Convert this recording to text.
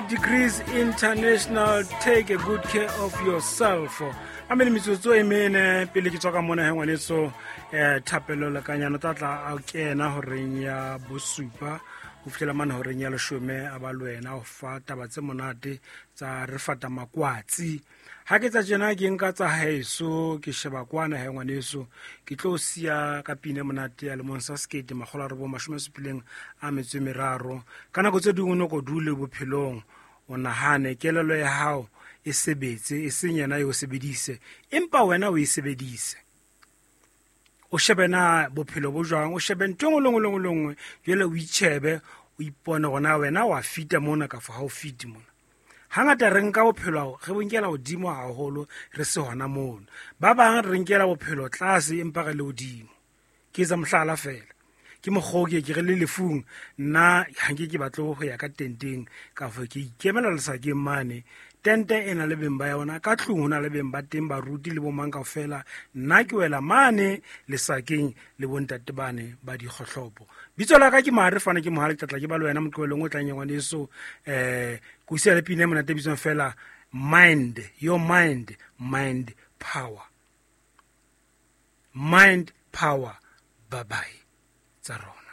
Degrees International, take a good care of yourself. A mene metsotso e mene pele ke tswa ka mona he ngwaneso. Thapelo lekanyano tla tla a kena horeng ya bosupa ho fihlela mane horeng ya leshome, a ba le wena ho fa taba tse monate tsa re fata makwatsi. Ha ke tsa tjena ke nka tsa haeso, ke sheba kwana he ngwaneso, ke tlo siya ka pine monate ya lemong sa 1973. Ka nako tse dingwe o no ko dule bophelong, o nahane kelello ya hao e sebetse, e seng yena e o sebedise, empa wena o e sebedise. O shebe na bophelo bo jwang, o shebe ntho e nngwe le nngwe le nngwe le nngwe, jwale o itjhebe, o ipone hore na wena wa fita mona kafo ha o fite mona. Hangata re nka bophelo re bo nkela hodimo haholo, re se hona mono. Ba bang re nkela bophelo tlase empa re le hodimo. Ke etsa mohlala fela, ke mokgwa o ke re le lefung, nna ha nke ke batle ho ya ka tenteng kafo ke ikemela lesakeng mane. Tente e na le beng ba yona, ka tlung ho na le beng ba teng, baruti le bomang kaofela. Nna ke wela mane lesakeng le bontate bane ba dikgohlopo. Bitso la ka ke Mare Fane, ke Mohale, ke tlatla ke ba le wena moqebelong o tlang ya ngwaneso. Ke o siya le pina e monate e bitswang fela Mind Your Mind, Mind Power, Mind Power. Bye bye tsa rona.